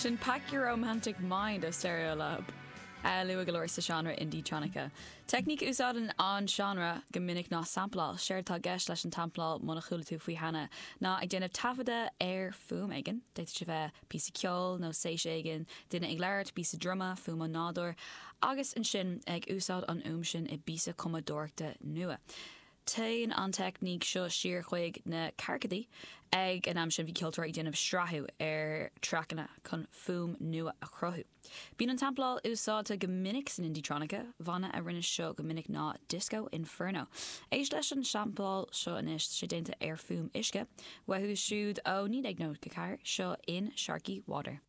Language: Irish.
Sin Pack Your Romantic Mind ó Stereolab. Luath go leor sa seánra indietronica. Teicníc a úsáideann an seánra go minic ná sampláil. Séard atá i gceist leis an tsampláil, muna chuala tú faoi cheana, ná ag déanamh taifeadadh ar fuaim éigin. D'fhéadfadh sé bheith píosa ceoil nó séis éigin, duine ag labhairt, píosa druma, fuaim ón nádúr, agus ansin ag úsáid an fhuaim sin i bpíosa cumadóireachta nua. Téann an teicníc seo siar chuig na ceathrachaidí. Ag an am sin bhí ceoltóirí ag déanamh srathú ar traiceanna chun fuaim nua a chruthú. Bíonn an tsampláil úsáidte go minic san indietronica. Banna a rinne seo go minic ná Disco Inferno. Éist leis an sampláil seo anois, tá sé déanta ar fuaim uisce. Uathu siúd ó 1994, seo In Sharky Water.